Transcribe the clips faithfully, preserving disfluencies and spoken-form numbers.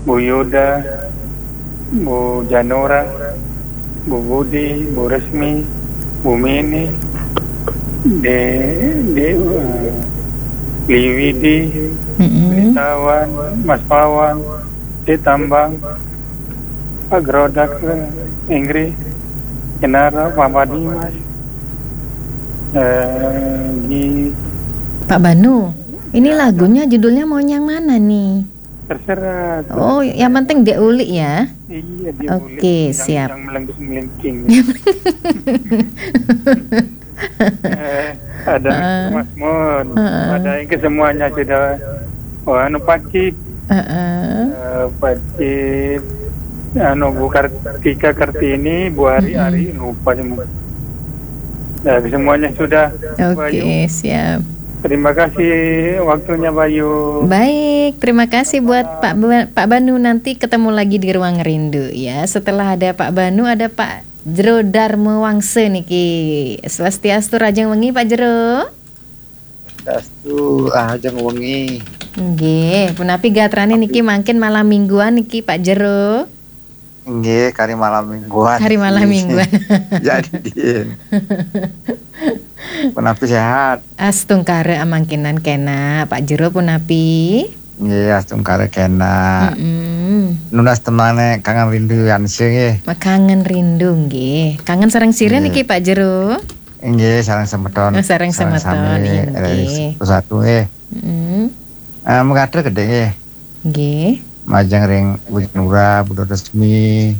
Bu Yuda, Bu Janura, Bu Budi, Bu Resmi, Bu Mini, De, De, eh, Liwidi, Mm-mm. Tawan, Mas Pawan, De Tambang, Pak Gerodak, Inggris, Kenara, Pak Badimas, eh, di Pak Banu, ini lagunya judulnya mau yang mana nih? Terserah. Oh, yang penting dia ulik ya. Iya, dia Oke, boleh. Yang, siap. Yang melengking-melengking. Eh, ada Mas Mun. Heeh. Ada yang kesemuanya sudah. Oh, anu Pakcik, Heeh. eh, Pakcik, anu Bu Kartika Kartini, Bu Ari Ari, lupa semua. Ya, semuanya sudah. Bayu. Oke, siap. Terima kasih waktunya, Bayu. Baik, terima kasih buat Pak Ba- Pak Banu. Nanti ketemu lagi di Ruang Rindu ya. Setelah ada Pak Banu, ada Pak Jero Darmo Wangse niki. Swastiastu, rahajeng wengi, Pak Jero. Dastu, rahajeng wengi. Nggih, punapi gatrane niki mangkin malam mingguan niki, Pak Jero. Nggih, kari malam mingguan. Hari malam mingguan. Jadi, punapi sehat. Astungkara amangkinan kena, Pak Jero punapi. Nggih, astungkara kena. Mm-mm. Nunas temane kangen rindu anse nggih. Kangen rindu nggih. Kangen sareng sira Nggih. Niki, Pak Jero. Nggih, sareng semeton. Oh, sareng semeton, Sami, iya, eh, nggih. Satu nggih. Mm. Eh, mekaten gedhe nggih. Nggih. Majeng ring Bu Nura, Bu Resmi,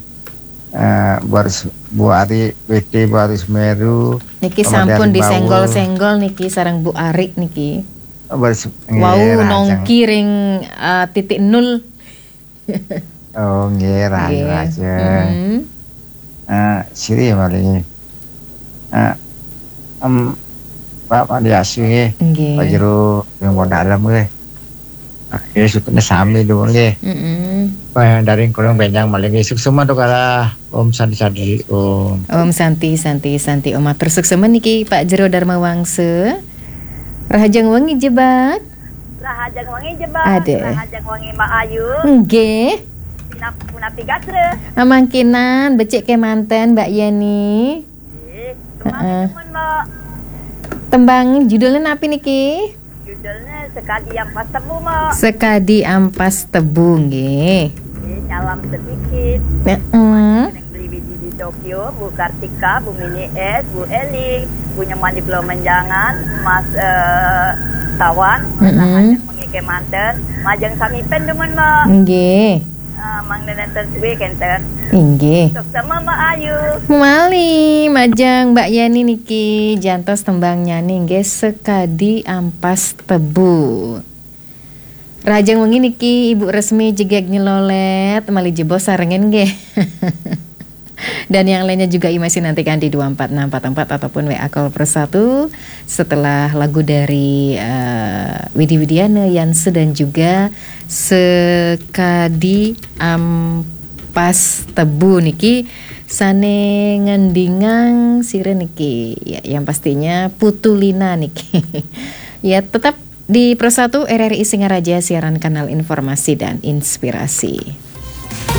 eh, Bu Aris, Bu Ari, W T, Bu Aris Meru. Niki Kemudian sampun Bawul. Disenggol-senggol niki sareng Bu Arik niki. Bu Aris, nggih, Wau rahajeng. Nongki ring, eh, titik nol. Oh, nggih, rahajeng, Nggih. rahajeng. Mm. Eh, siri malih. Eh, em, Pak Pandiasi nggih. Nggih. Pak Jero yang mau dalam nggih. Nah, nggih, sukune sami dulu nggih. Mm-mm. Wah, dari kurang benjang malih nggih. Suksema tukara. Om Santi Santi Om. Om Santi, Santi, Santi. Om matur suksema niki Pak Jero Darma Wangse. Rahajeng wengi Jebak. Rahajeng wengi Jebak. Ade. Rahajeng wengi Mbak Ayu. Nggih. Pinap punapi gatra. Amangkinan becik kemanten Mbak Yeni. Nggih. Heeh. Teman Mbak. Tembang judulnya napi niki? Judulnya Sekadi Ampas Tebu, Mbak. Sekadi Ampas Tebu nggih. Nggih, salam sedikit. Heeh. Yang beli biji di Tokyo, Bu Kartika, Bu Mini S, Bu Eli, Bu Nyoman di Pulau Menjangan, Mas eh, Tawan, Mm-mm. Rahajeng wengi kemanten, majeng sami pen demen, Mbak. Nggih. Eh, Mang Nenen ten suwe kenten. Inggih. Suksema Mbak Ayu. Mali majeng Mbak Yeni niki jantos tembang nyani nggih Sekadi Ampas Tebu. Rahajeng wengi niki Ibu Resmi Jegeg Nyelolet, mali jebos sarengen nggih. Dan yang lainnya juga masih nantikan di dua empat enam empat empat ataupun W A call per satu setelah lagu dari eh, Widi Widiana, Yanse dan juga Sekadi Ampas Tebu niki sane ngendingang sira niki. Ya, yang pastinya Putu Lina niki. Ya, tetap di Pro satu R R I Singaraja, siaran kanal informasi dan inspirasi.